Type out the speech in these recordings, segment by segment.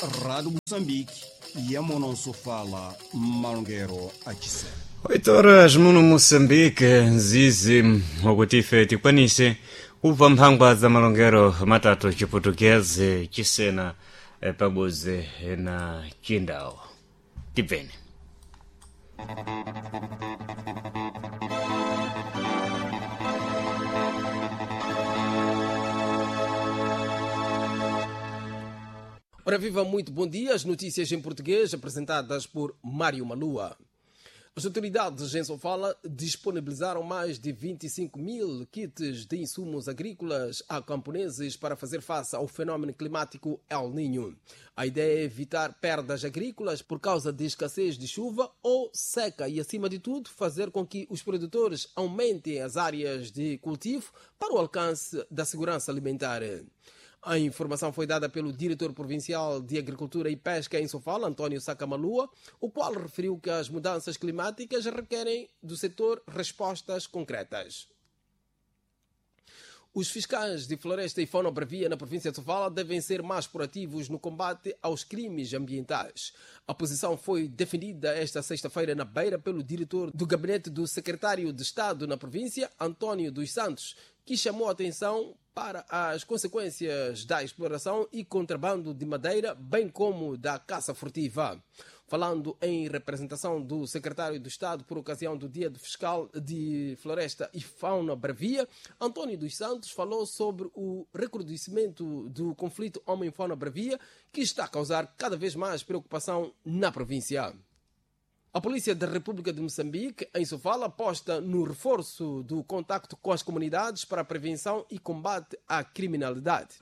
Rádio Moçambique, Yamonosofala, Malongero Achisé. 8 horas muno Moçambique, nzizi wakuti ife tikwanise kubva mphangwa za malongero matatu chiputukezi chisena pabuzi na chindawo tibveni. Ora viva, muito bom dia. As notícias em português apresentadas por Mário Malua. As autoridades em Sofala disponibilizaram mais de 25 mil kits de insumos agrícolas a camponeses para fazer face ao fenômeno climático El Niño. A ideia é evitar perdas agrícolas por causa de escassez de chuva ou seca e, acima de tudo, fazer com que os produtores aumentem as áreas de cultivo para o alcance da segurança alimentar. A informação foi dada pelo diretor provincial de Agricultura e Pesca em Sofala, António Sakamalua, o qual referiu que as mudanças climáticas requerem do setor respostas concretas. Os fiscais de floresta e fauna bravia na província de Sofala devem ser mais proativos no combate aos crimes ambientais. A posição foi defendida esta sexta-feira na Beira pelo diretor do gabinete do secretário de Estado na província, António dos Santos, que chamou a atenção para as consequências da exploração e contrabando de madeira, bem como da caça furtiva. Falando em representação do secretário do Estado por ocasião do Dia do Fiscal de Floresta e Fauna Bravia, António dos Santos falou sobre o recrudescimento do conflito homem-fauna bravia, que está a causar cada vez mais preocupação na província. A Polícia da República de Moçambique, em Sofala, aposta no reforço do contacto com as comunidades para a prevenção e combate à criminalidade.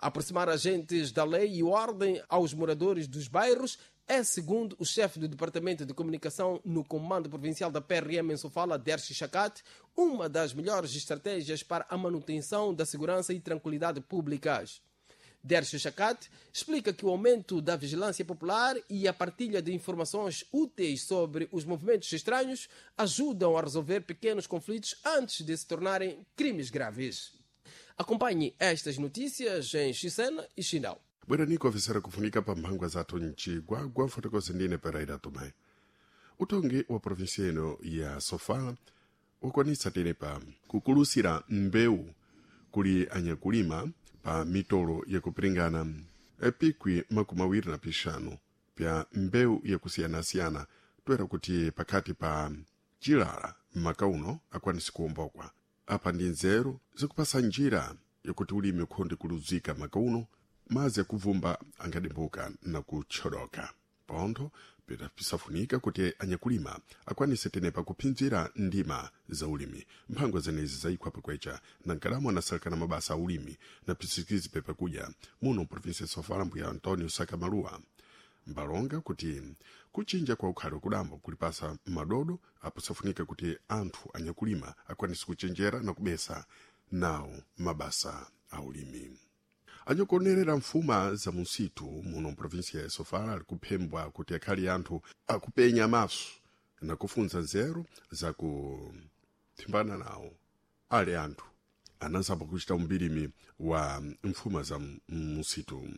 Aproximar agentes da lei e ordem aos moradores dos bairros é, segundo o chefe do Departamento de Comunicação no Comando Provincial da PRM em Sofala, Dersi Chacate, uma das melhores estratégias para a manutenção da segurança e tranquilidade públicas. Dércio Chacate explica que o aumento da vigilância popular e a partilha de informações úteis sobre os movimentos estranhos ajudam a resolver pequenos conflitos antes de se tornarem crimes graves. Acompanhe estas notícias em Xisena e Xinau. Bwerani ofisera kufunika pa mphangwa zathu mcigwagwa mfotokozi ndine Pereira Tomé. Utongi wa provinsia ino ya Sofala wakwanitsa tenepa kukulusira mbewu kuli anyakulima pa mitolo yakupiringana epikwi 25 pya mbewu yakusiyanasiyana toera kuti pakati pa chilala m'maka uno akwanisi kuwombokwa. Apa ndi nzeru zikupasa njira yakuti ulimi ukhonde kuluzika maka uno mazi akuvumba angadimbuka na kutchodoka. Pontho pisafunika kuti anyakulima akwanise tenepa kuphinzira ndima za ulimi. Mphangwa zenezi zayikhwa pakwecha na nkalamu anasalekana mabasa a ulimi na pisikizi pepakudya muno provinsia ya Sofala mbuya Antonio Sakamalua mbalonga kuti kuchinja kwa ukhali wakudambo kulipasa madodo apo safunika kuti anthu anyakulima akwanise kuchenjera na kubesa nawo mabasa a ulimi. Anyakuonerera mfuma za musitu muno mprovinsia ya Sofala ali kuphembwa kuti akhali anthu akupenya maso na kufunza nzeru za kuthimbana nawo ali anthu anazamba kuchita umbirimi wa mfuma za musitu.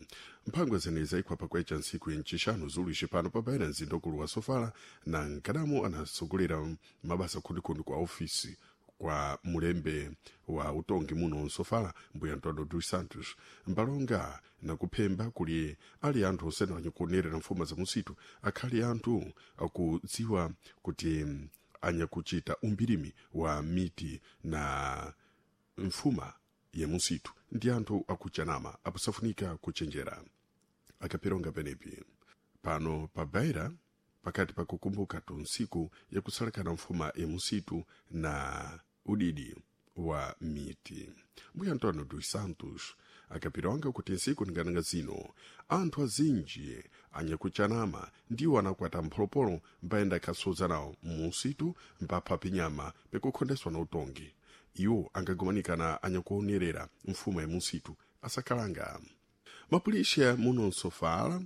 Mphangwa zenezi zayikhwa pakwecha ntsiku yencixanu zuluixi pano pabaira mzinda ukulu wa Sofala na nkadamu anasogolera mabasa khundikhundi kwa ofisi kwa mulembe wa utongi muno nsofala mbuya Antonio dos Santos mbalonga nakuphemba kuli ali anthu osene anyakuonerera mfuma za musitu akhali anthu akudziwa kuti anyakuchita umbirimi wa miti na mfuma ya musitu ndi anthu akuchanama aposafunika kuchenjera. Akapironga penepi pano pa Beira pakati pakukumbuka tunsiku yakusalekana mfuma ya musitu na udidi wa miti. Mbuya Antonio dos Santos akapironga kuti nsiku ningananga zino anthu azinji anyakuchanama ndiwo anakwata mpholopolo mbayenda akhasoza nawo musitu mbapha pinyama pikukhondeswa na utongi. Iwo angagumanikana anyakuonerera mfuma ya musitu asakhalanga. Mapulisha muno nsofala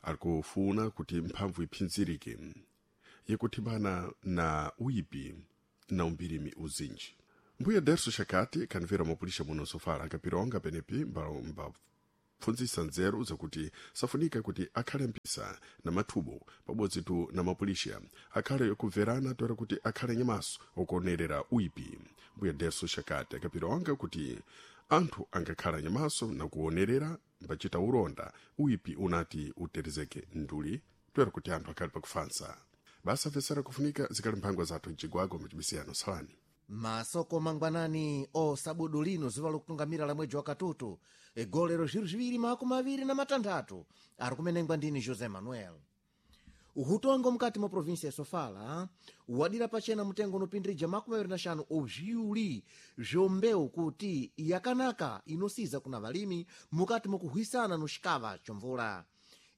alikufuna kuti mphamvu iphinzirike yakuthimbana na uyipi na umbirimi uzinji. Mbuya Derso Chakati kanvera mapulisha muno nsofala akapironga penepi mba Kupfunzisa nzeru zakuti safunika kuti akhale mpisa na mathubo pabodzi tu na mapulisha akhale kubverana toera kuti akhale nyamaso okuonerera uipi. Mbuya Derso Shakati akapira wanga kuti anthu angakhala nyamaso na kuonerera mbachita uronda uipi unati uterezeke nduli toera kuti anthu akhale pakufansa. Basa vesera kufunika zikali mphangwa zathu mcigwago mcibisiyano salani. Masoko mangwanani osabudu lino zuva lokutungamira la mwedzi wakatutu egolero 2026 ari kumenengwa ndini José Manuel. Uhutongo mukati mwa provinsia ya Sofala wadira pachena mutengo unopindirija 25 obziuli zvombeu kuti yakanaka inosiza kuna valimi mukati mwakuhwisana no xikava chomvula.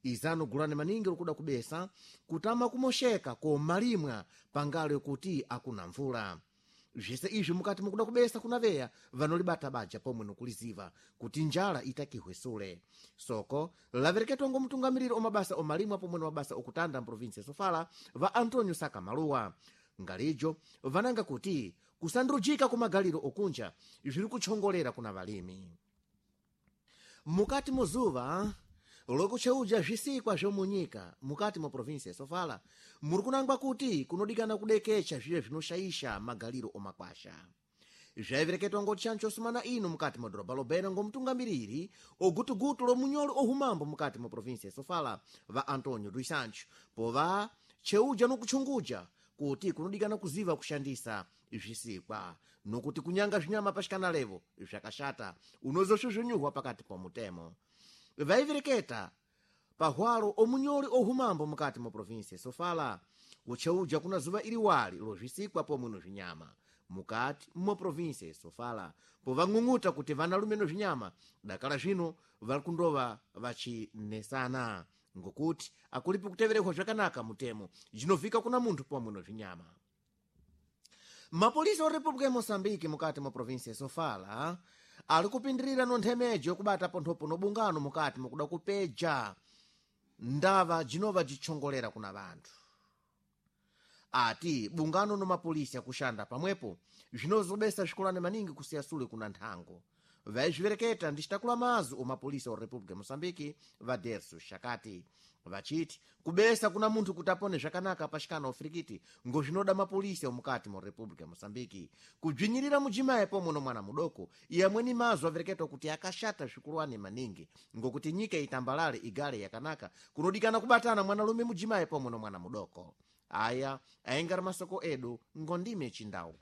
Izano gulani maningi lokuda kubesa kutama kumoxeka komalimwa pangalo yokuti akuna mvula. Zvese izvi mukati mukuda kubesa kuna veya vanolibata baja pomwe nokuliziva kuti njala itakihwesule. Soko lavereketwa ngo mtungamiriri omabasa omalimwa pomwe na mabasa okutanda mprovinsi ya Sofala va Antonio Saka Maluwa. Ngalijo vananga kuti kusandrujika kumagaliro okunja zviri kutchongolera kuna valimi. Mukati muzuva lokucheuja zvisikwa zvomunyika mukati mwa provinsi ya Sofala muri kunangwa kuti kunodikana kudekecha zviye zvinoshaisha magaliro omakwasha. Zvaivereketwa ngoti chancho sumana ino mukati mwa dhorobha lobena ngomtungamiriri ogutugutu lomunyolo ohumambo mukati mwa provinsi ya Sofala va Antonio dos Santos pova cheuja nokutchunguja kuti kunodikana kuziva kushandisa zvisikwa nokuti kunyanga zvinyama pashikana levo zvakashata unozosvuzvunyurwa pakati pomutemo. Vaivereketa pahwalo omunyoli ohumambo mukati mwa provinsi ya Sofala ucheuja kuna zuva iliwali lozvisikwa pomwe no zvinyama mukati mwa provinsi ya Sofala povang'ung'uta kuti vanalume no zvinyama dakala zvino vari kundova vachinesana ngokuti akulipi kuteverehwa zvakanaka mutemo jinovhika kuna munthu pomwe no zvinyama. Mapolisi a República ya Moçambique mukati mwa provinsi ya Sofala ali kupindirira no nthemejo yokubata ponthopo no bungano mukati mukuda kupeja ndava jinova jitchongolera kuna vanthu. Ati bungano no mapolisi akushanda pamwepo zvinozobesa zvikolane maningi kusiya sule kuna nthango. Vaizvivereketa ndi citakula mazu omapolisi a República ya Moçambique va Derso Shakati vachiti kubesa kuna munthu kuti apone zvakanaka pachikana ofirikiti ngozvinoda mapolisi omukati mu República ya Moçambique kubzinyirira mujimayi pomwe no mwana mudoko yamweni mazu avereketwa kuti akashata zvikulwani maningi ngokuti nyika itambalale igale yakanaka kunodikana kubatana mwanalume mujimayi pomwe no mwana mudoko. Aya aengari masoko edu ngondime chindau.